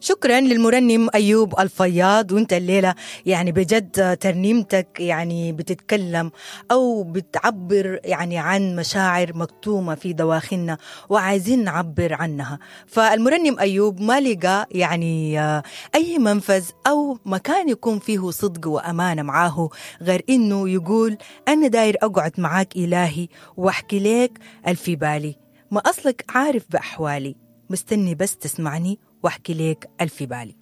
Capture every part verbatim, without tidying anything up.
شكرا للمرنم أيوب الفياض. وانت الليلة يعني بجد ترنيمتك يعني بتتكلم أو بتعبر يعني عن مشاعر مكتومة في دواخلنا وعايزين نعبر عنها. فالمرنم أيوب ما لقى يعني أي منفذ أو مكان يكون فيه صدق وأمانة معاه غير إنه يقول أنا داير أقعد معاك إلهي واحكي لك الفي بالي، ما أصلك عارف بأحوالي، مستني بس تسمعني واحكي لك الفي بالي.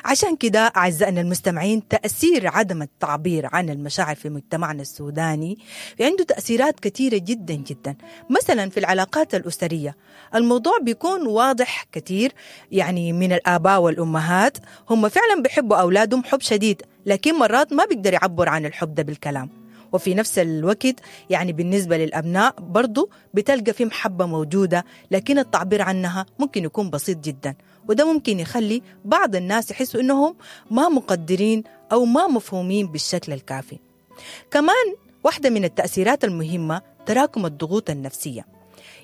عشان كده أعزائنا المستمعين، تأثير عدم التعبير عن المشاعر في مجتمعنا السوداني عنده تأثيرات كثيرة جدا جدا. مثلا في العلاقات الأسرية الموضوع بيكون واضح كثير، يعني من الآباء والأمهات هم فعلا بيحبوا أولادهم حب شديد، لكن مرات ما بيقدر يعبر عن الحب ده بالكلام. وفي نفس الوقت يعني بالنسبة للأبناء برضو بتلقى في محبة موجودة، لكن التعبير عنها ممكن يكون بسيط جدا، وده ممكن يخلي بعض الناس يحسوا إنهم ما مقدرين أو ما مفهومين بالشكل الكافي. كمان واحدة من التأثيرات المهمة تراكم الضغوط النفسية،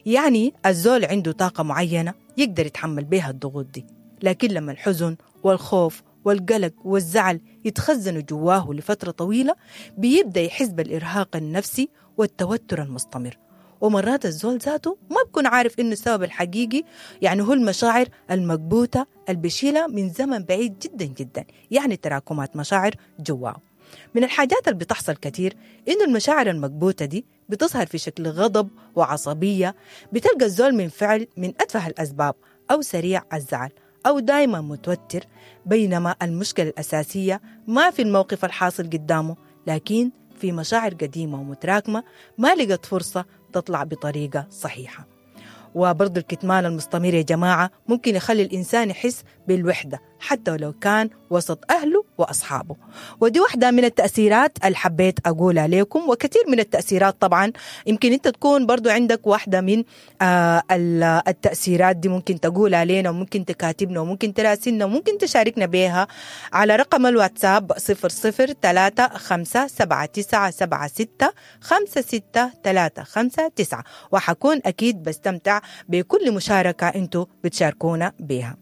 يعني الزول عنده طاقة معينة يقدر يتحمل بها الضغوط دي، لكن لما الحزن والخوف والقلق والزعل يتخزنوا جواه لفترة طويلة بيبدأ يحس بالإرهاق النفسي والتوتر المستمر. ومرات الزول ذاته ما بكون عارف إنه السبب الحقيقي يعني هو المشاعر المكبوتة البشيلة من زمن بعيد جدا جدا، يعني تراكمات مشاعر جواه. من الحاجات اللي بتحصل كتير إنه المشاعر المكبوتة دي بتظهر في شكل غضب وعصبية، بتلقى الزول من فعل من أتفه الأسباب أو سريع الزعل أو دايما متوتر، بينما المشكلة الأساسية ما في الموقف الحاصل قدامه، لكن في مشاعر قديمة ومتراكمة ما لقت فرصة تطلع بطريقة صحيحة. وبرضو الكتمان المستمر يا جماعة ممكن يخلي الإنسان يحس بالوحدة حتى ولو كان وسط أهله وأصحابه. ودي واحدة من التأثيرات اللي حبيت أقولها لكم، وكثير من التأثيرات طبعا يمكن أنت تكون برضو عندك واحدة من آه التأثيرات دي، ممكن تقولها لنا وممكن تكاتبنا وممكن تراسلنا وممكن تشاركنا بها على رقم الواتساب صفر صفر ثلاثة خمسة سبعة تسعة سبعة ستة خمسة ستة ثلاثة خمسة تسعة، وحكون أكيد بستمتع بكل مشاركة أنتوا بتشاركونا بها.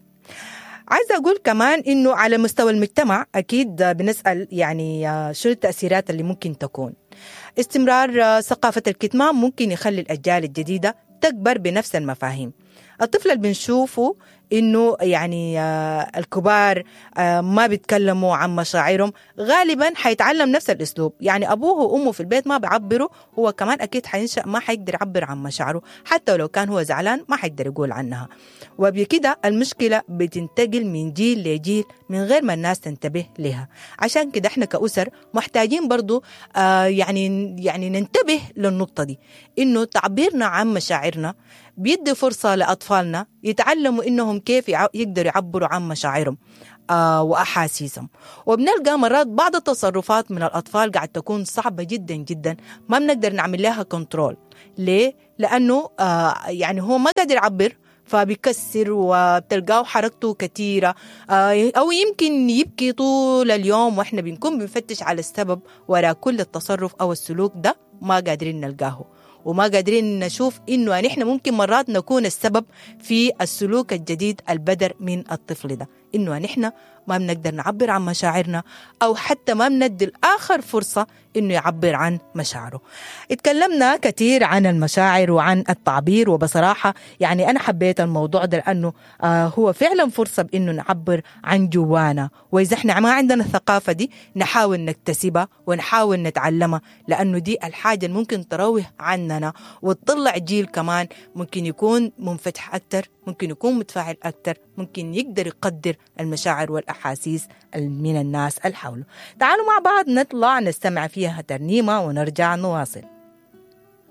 عايزة أقول كمان إنه على مستوى المجتمع أكيد بنسأل يعني شو التأثيرات اللي ممكن تكون. استمرار ثقافة الكتمان ممكن يخلي الأجيال الجديدة تكبر بنفس المفاهيم. الطفل اللي بنشوفه إنه يعني الكبار ما بيتكلموا عن مشاعرهم غالبا حيتعلم نفس الأسلوب، يعني أبوه وأمه في البيت ما بيعبروا، هو كمان أكيد حينشأ ما حيقدر يعبر عن مشاعره، حتى لو كان هو زعلان ما حيقدر يقول عنها. وبكده المشكلة بتنتقل من جيل لجيل من غير ما الناس تنتبه لها. عشان كده احنا كأسر محتاجين برضو آه يعني يعني ننتبه للنقطة دي، إنه تعبيرنا عن مشاعرنا بيدي فرصة لأطفالنا يتعلموا إنهم كيف يقدروا يعبروا عن مشاعرهم آه وأحاسيسهم. وبنلقى مرات بعض التصرفات من الأطفال قاعد تكون صعبة جدا جدا، ما بنقدر نعمل لها كنترول. ليه؟ لأنه آه يعني هو ما قادر يعبر، فبيكسر وبتلقاه حركته كثيرة، أو يمكن يبكي طول اليوم، وإحنا بنكون بنفتش على السبب وراء كل التصرف أو السلوك ده ما قادرين نلقاه، وما قادرين نشوف إنه نحن ممكن مرات نكون السبب في السلوك الجديد البدر من الطفل ده، إنه نحن ما بنقدر نعبر عن مشاعرنا أو حتى ما بندي الآخر فرصة إنه يعبر عن مشاعره. اتكلمنا كثير عن المشاعر وعن التعبير، وبصراحة يعني أنا حبيت الموضوع ده لأنه آه هو فعلا فرصة بإنه نعبر عن جوانا، وإذا إحنا ما عندنا الثقافة دي نحاول نكتسبها ونحاول نتعلمها، لأنه دي الحاجة اللي ممكن تروه عننا وتطلع جيل كمان ممكن يكون منفتح أكتر، ممكن يكون متفاعل أكتر، ممكن يقدر يقدر المشاعر والأحاسيس من الناس اللي حوله. تعالوا مع بعض نطلع نستمع فيها ترنيمة ونرجع نواصل.